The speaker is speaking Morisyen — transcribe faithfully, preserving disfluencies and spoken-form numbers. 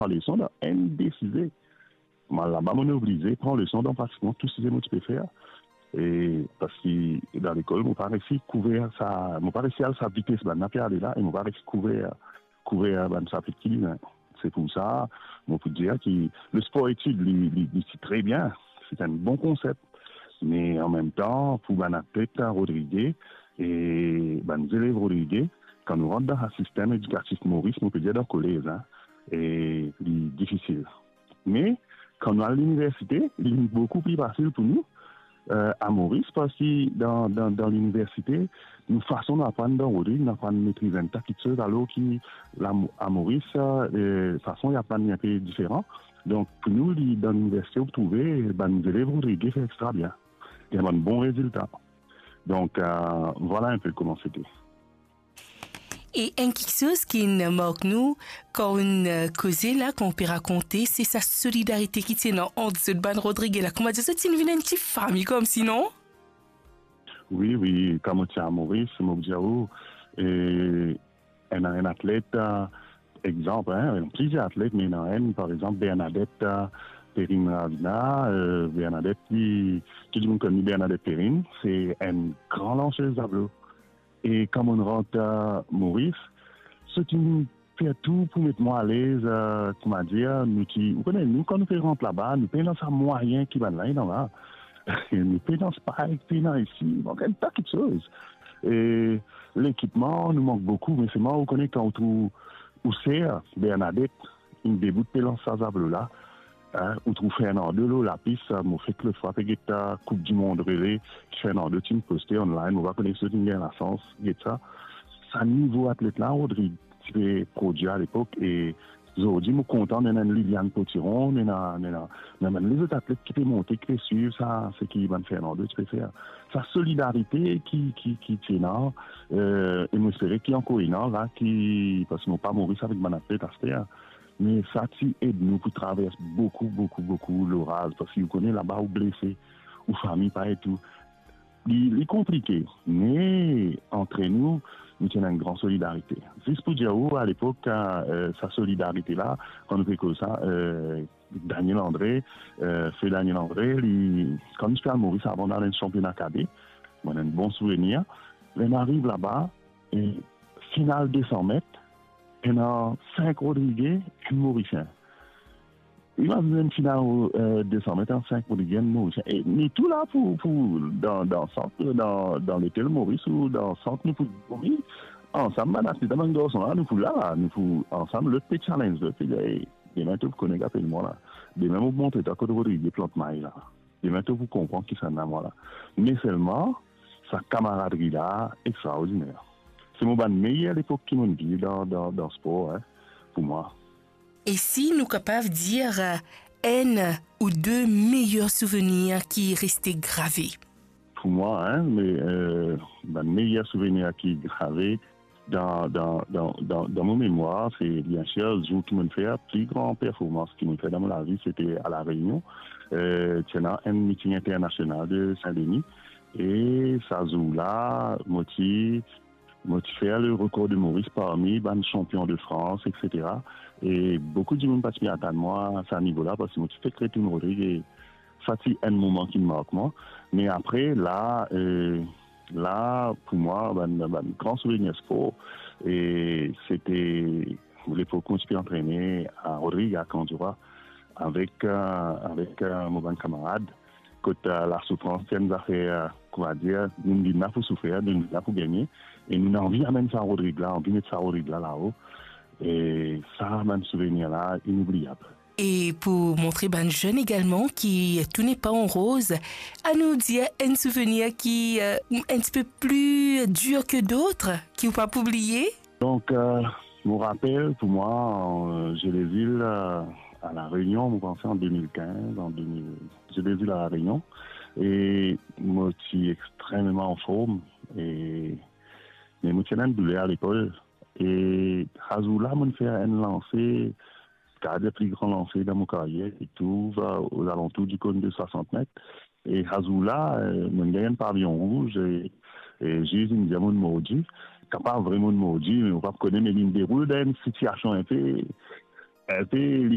leson dan enn de size. Mo al laba, mo oblize pran leson dan pratikman tou size mo ti pe fer. E parski dan lekol, mo pa resi kouver sa, mo pa resi al sa vites bann la pe ale la, e mo pa resi kouver, kouver bann sapit ki bizin. Se pou sa, mo pou dir ki le sport etid, li, li, li ti tre bien. Se enn bon konsep. Me anmemtan, pou bann atlet Rodrigue e bann zelev Rodrigue, kan nou rant dan sa sistem edikatif Moris, mo pe dir dan kolez, hein, e li difisil. Me kan nou al liniversite, li vinn boukou pli fasil pou nou, eh, a Moris, parski dan, dan, dan liniversite, nou fason nou aprann dan Rodrigue, nou aprann metriz enn ta kiksoz, alor ki la, a Moris, eh, fason li aprann li enpe diferan. Donk, pou nou, li, dan liniversite, ou trouve bann zelev Rodrigue fer extra bien. Li ena bann bon rezilta. Donk, eh, vwala enpe kouma sete. E enn kiksoz ki inn mark nou, kan ou'nn, eh, koze la, kan ou pe rakonte, se sa solidarite ki ti ena ant zot bann Rodrigue la. Kouma dir, zot ti vinn enn ti fami koumsi, non? Wi, wi, kan mo ti a Moris, mo pou dir ou, eh, ena enn atlet, eh, exanp, hein, ena plizier atlet, me ena enn, par exanp, Bernadette, eh, Perrine Ravina, eh, Bernadette, li, tou dimoun konn li Bernadette Perrine, se enn gran lansez zablo. E kan mo'nn rant, eh, Moris, zot inn fer tou pou met mwa alez, eh, kouma dir, nou ti, ou kone, nou, kan nou pe rant laba, nou pena sa mwayin ki bann la ena la. Nou pena spike, pena isi, mank enn ta kiksoz. E lekipman, nou mank boukou, me selman, ou kone, kan ou trouv ou ser Bernadette, inn debout pe lans sa zablo la, hein, ou trouv Fernando lor lapis, mo fek lot fwa pe get, eh, Koup di Mond rele, ki Fernando ti'nn poste online, mo pa kone si zot inn gagn lasans get sa. Sa nivo atlet la, Rodrigue ti pe prodwir alepok, e zordi, mo kontan, ena enn Liliane Potiron, ena, ena, ena bann lezot atlet ki pe monte, ki pe swiv sa, seki bann Fernando ti pe fer. Sa solidarite ki, ki, ki ti ena, eh, e mo espere ki ankor ena la, ki, parski mo pa Moris avek bann atlet aster, me sa ti ed nou pou travers boukou, boukou, boukou loraz, parski ou kone laba ou blese, ou fami pa ete ou. Li, li konplike, me antre nou, nou ti ena enn gran solidarite. Zis pou dir ou, alepok, eh, sa solidarite la, kan nou pe koz sa, eh, Daniel André, eh, Fe Daniel André, li, kan nou ti pe al Moris avan, nou al enn sanpiona kade, mo ena enn bon souvenir. Ler nou ariv laba, e final de san met, ena sink Rodrigue, enn Morisien. Imazinn enn final, eh, de san met, ena sink Rodrigue, enn Morisien. E nou tou la pou, pou, dan, dan sant, dan, dan lotel Moris ou dan sant, nou pou dormi ansam, bann atlet, bann garson la, nou pou la, la, nou pou ansam, lot pe challenge lot, pe dir, "Ey, demin to pou kone ki apel mwa la. Demin mo pou montre twa kot Rodrigue plant may la." Demin to pou konpran kisannla mwa la. Me selman, sa kamaradri la, extraordiner. Se mo bann meyer lepok ki mo'nn viv dan, dan, dan spor, hein, pou mwa. E si nou kapav dir, eh, enn ou de meyer souvenir ki reste grave? Pou mwa, hein, me, eh, bann meyer souvenir ki grave, dan, dan, dan, dan, dan mo memwar, se, biensir, zour ki mo'nn fer pli gran performans ki mo'nn fer dan mo lavi, sete a La Réunion. Eh, ti ena enn miting internasional de Saint-Denis. E sa zour la, mo ti, mo ti fer le rekor de Moris parmi bann sanpion de Frans, et cetera. E boukou dimoun pa ti atann mwa sa nivo la, parski mo ti fek retourn Rodrigue, e sa ti enn moman ki mark mwa. Me apre, la, eh, la, pou mwa, bann, bann gran souvenir spor, e sete lepok mo ti pe antrene a Rodrigue, a Camp du Roi, avek, eh, avek, eh, mo bann kamarad, kot, eh, lasoufrans ti enn zafer, eh, kouma dir, nou vinn la pou soufer, nou vinn la pou gagne, e nou anvi amenn sa Rodrigue la, anvi met sa Rodrigue la lao. E sa, bann souvenir la, inoubliab. E pou montre bann zenn egalman ki tout n'est pas en rose, anou dir enn souvenir ki, eh, un petit peu plus dur que d'autres, ki ou pa pou bliye? Donk, eh, mo rapel, pou mwa, eh, Jeux des Îles, eh, a La Réunion, mo panse an de mil kinz, an de mil, Jeux des Îles a La Réunion, e mo ti extrememan anform, e, me mo ti ena enn douler a lepol, e sa zour la, mo'nn fer enn lanse, kapav dir pli gran lanse dan mo karyer, ki trouv, eh, ozalantour di konn de swasant met. E sa zour la, eh, mo'nn gagn enn paviyon rouz, e, e ziz inn dir mo'nn mordi. Kapav vre mo'nn mordi, me mo pa kone, me li'nn deroul dan enn sitiasion enpe, enpe, li